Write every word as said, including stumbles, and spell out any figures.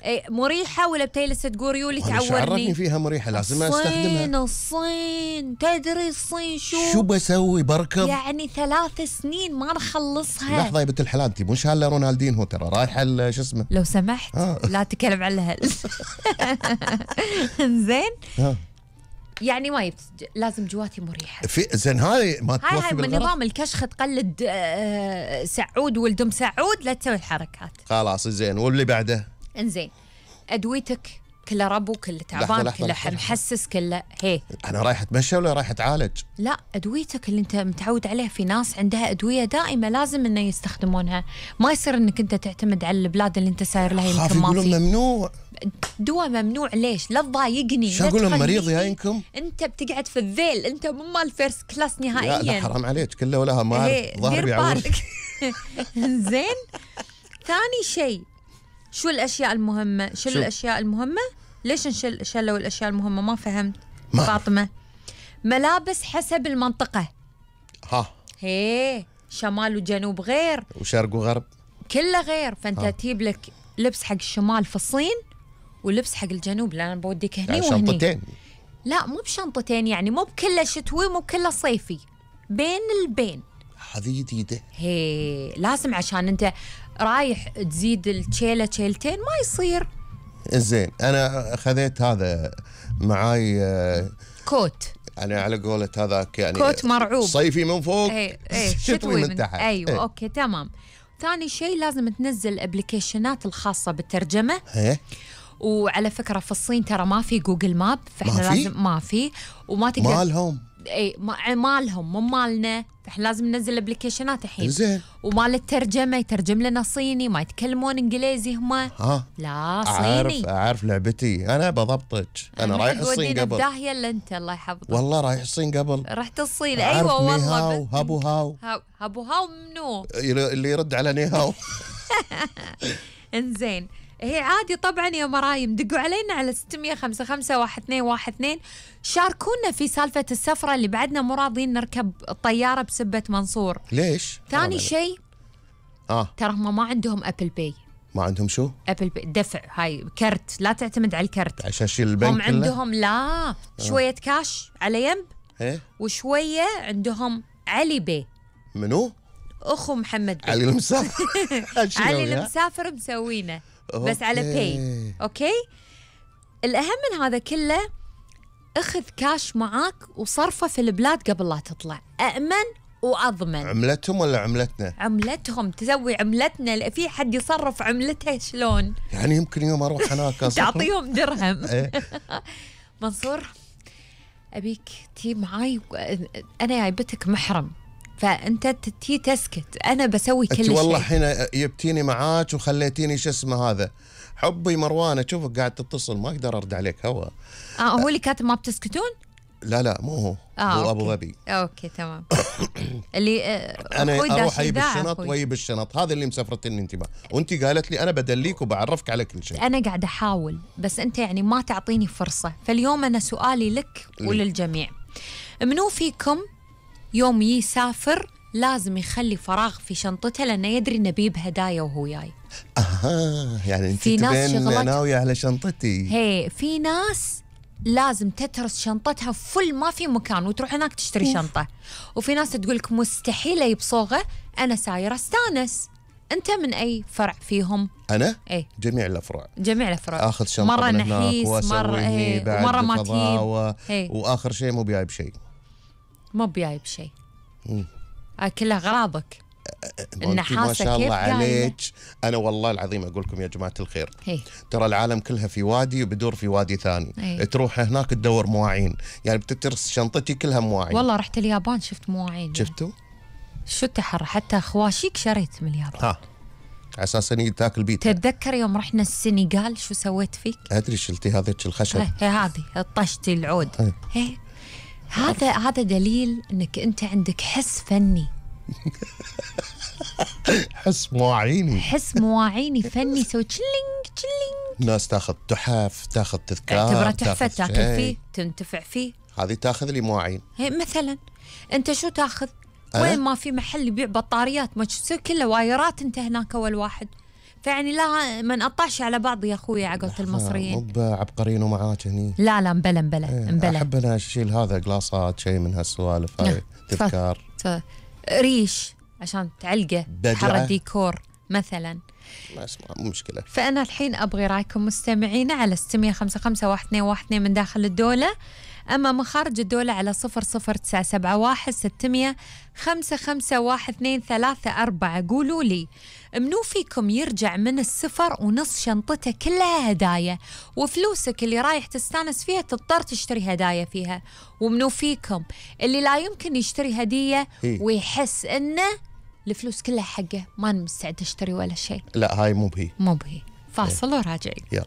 إيه مريحة ولا بتجلس تقول يولي تعورني؟ شو عرفني فيها مريحة؟ لازم استخدمها. الصين الصين تدري الصين شو؟ شو بسوي بركض؟ يعني ثلاث سنين ما نخلصها. لحظة يا بنت الحلال، انت مو شاله رونالدينهو ترى رايحة شو اسمه؟ لو سمحت آه. لا تتكلم عن الهل. زين؟ آه. يعني ما يبت... لازم جواتي مريحة. في زين هاي ما توفي هاي بالغرض. من نظام الكشخ تقلد آه سعود ولدم سعود، لا تسوي الحركات. خلاص زين، واللي بعده؟ انزين ادويتك كله ربو، كله تعبان، كله محسس، كله هي. انا رايح اتمشى ولا رايح اتعالج؟ لا ادويتك اللي انت متعود عليها. في ناس عندها ادويه دائمه لازم انه يستخدمونها، ما يصير انك انت تعتمد على البلاد اللي انت ساير لها يمكن ما في. ممنوع دواء ممنوع ليش؟ لا تضايقني. شو اقول لهم مريض ياينكم؟ انت بتقعد في الذيل، انت مو مال فيرست كلاس نهائيا. لا, لا حرام عليك، كله ولا ما ظهري بيعور. زين. ثاني شيء شو الاشياء المهمه؟ شو, شو الاشياء المهمه؟ ليش نشل شلوا الاشياء المهمه؟ ما فهمت ما. فاطمه ملابس حسب المنطقه. ها هي شمال وجنوب غير، وشرق وغرب كله غير. فانت تجيب لك لبس حق الشمال في الصين ولبس حق الجنوب، لان انا بوديك هني يعني وهني. شنطتين؟ لا مو بشنطتين، يعني مو بكله شتوي مو بكله صيفي، بين البين. هذه جديده. هي لازم عشان انت رايح تزيد الشيله شيلتين ما يصير. زين انا خذيت هذا معاي كوت، يعني على قولة هذاك يعني كوت مرعوب، صيفي من فوق ايه ايه شتوي من, من تحت. ايوه ايه. اوكي تمام. ثاني شيء لازم تنزل الابلكيشنات الخاصه بالترجمه. ايه. وعلى فكره في الصين ترى ما في جوجل ماب، فاحنا ما لازم ما في وما تقدر. مالهم اي مالهم مو مالنا، فاحنا لازم ننزل الابلكيشنات الحين. زين. ومال الترجمه يترجم لنا صيني، ما يتكلمون انجليزي هم. ها لا صيني. اعرف اعرف لعبتي، انا بضبطك. انا رايح الصين قبل. داهيه الا انت الله يحفظك. والله رايح الصين قبل. رحت الصين ايوه والله. هاو هابو هاو هابو هاو منو اللي يرد على نيهاو. انزين هي عادي طبعا يا مرايم، دقوا علينا على ستمية خمسة خمسة واحد اثنين واحد اثنين، شاركونا في سالفة السفرة اللي بعدنا مو راضيين نركب الطيارة بسبة منصور. ليش؟ ثاني شيء اه ترى هم ما عندهم ابل باي. ما عندهم شو؟ ابل باي دفع، هاي كرت، لا تعتمد على الكرت عشان شيل البنك. هم عندهم لا شوية آه. كاش على ينب. ايه. وشوية عندهم علي باي. منو؟ اخو محمد بي. علي المسافر. علي المسافر مسوينه بس على باي. اوكي. الاهم من هذا كله اخذ كاش معاك وصرفه في البلاد قبل لا تطلع، أأمن وأضمن. عملتهم ولا عملتنا؟ عملتهم، تسوي عملتنا. في حد يصرف عملته شلون؟ يعني يمكن يوم أروح هناك تعطيهم درهم. منصور أبيك تي معاي، أنا جايبتك محرم، فأنت تي تسكت، أنا بسوي كل شيء. والله حين جبتيني معاك وخليتيني شو اسمه هذا حبي مروانة، شوفك قاعد تتصل ما أقدر أرد عليك. هو آه هو اللي كاتب ما بتسكتون؟ لا لا مو هو. آه هو أوكي. أبو ظبي. أوكي تمام. اللي آه أنا أروح أجيب الشنط وأجيب الشنط، هذا اللي مسافرتني أنت بقى. وأنت قالت لي أنا بدليك وبعرفك على كل شيء. أنا قاعدة أحاول بس أنت يعني ما تعطيني فرصة. فاليوم أنا سؤالي لك وللجميع، منو فيكم يوم يسافر لازم يخلي فراغ في شنطته لأنه يدري إنه بيجيب هدايا وهو جاي؟ أها يعني أنت تبين ناوية على شنطتي. هي في ناس لازم تترس شنطتها فل ما في مكان وتروح هناك تشتري شنطة، وفي ناس تقول لك مستحيل أجيب صوغة، أنا سايرة استانس. أنت من أي فرع فيهم؟ أنا؟ إيه؟ جميع الأفرع. جميع الأفرع. آخذ شنطة مرة من نحيس مرة إيه ومرة ما تجيب و... وآخر شيء مو بجايب شيء. مو بجايب شيء. آه كلها غراضك. النحاسة ما شاء الله عليك. أنا والله العظيم أقول لكم يا جماعة الخير، هي. ترى العالم كلها في وادي وبدور في وادي ثاني. هي. تروح هناك تدور مواعين، يعني بتترس شنطتي كلها مواعين. والله رحت اليابان شفت مواعين. شفتوا؟ شو التحر، حتى خواشيك شريت من اليابان. ها على اساس اني تاكل بيت. تتذكر يوم رحنا السنغال شو سويت فيك؟ ادري شلتي هذيك الخشب. هي هذه طشتي العود. هي. هي. هذا هذا دليل انك انت عندك حس فني. حس مواعيني. حس مواعيني فني. سوي تشلينج تشلينج. ناس تاخذ تحف، تاخذ تذكار، تعتبره تحفه تاكل فيه تنتفع فيه. هذه تاخذ لي مواعين. هي مثلا انت شو تاخذ؟ وين ما في محل يبيع بطاريات ما تسوي كله وايرات، انت هناك اول واحد فيعني لا ما نقطعش على بعض يا اخوي على قولة المصريين. مو بعبقرين ومعاك هني. لا لا مبلا مبلا ايه مبلا. احب انا اشيل هذا قلاصات شيء من هالسوالف هاي تذكار. ريش عشان تعلقه حر الديكور مثلا. ما اسمع مو مشكلة. فأنا الحين أبغي رأيكم مستمعينا على ستمية خمسة خمسة واحد اثنين واحد اثنين من داخل الدولة، أما من خارج الدولة على صفر صفر تسعة سبعة واحد ستمية خمسة خمسة واحد اثنين ثلاثة أربعة. قولوا لي منو فيكم يرجع من السفر ونص شنطته كلها هدايا وفلوسك اللي رايح تستانس فيها تضطر تشتري هدايا فيها، ومنو فيكم اللي لا يمكن يشتري هدية ويحس إنه الفلوس كلها حقه ما مستعد اشتري ولا شيء؟ لا هاي مو بهي مو بهي. فاصل وراجعين. يلا.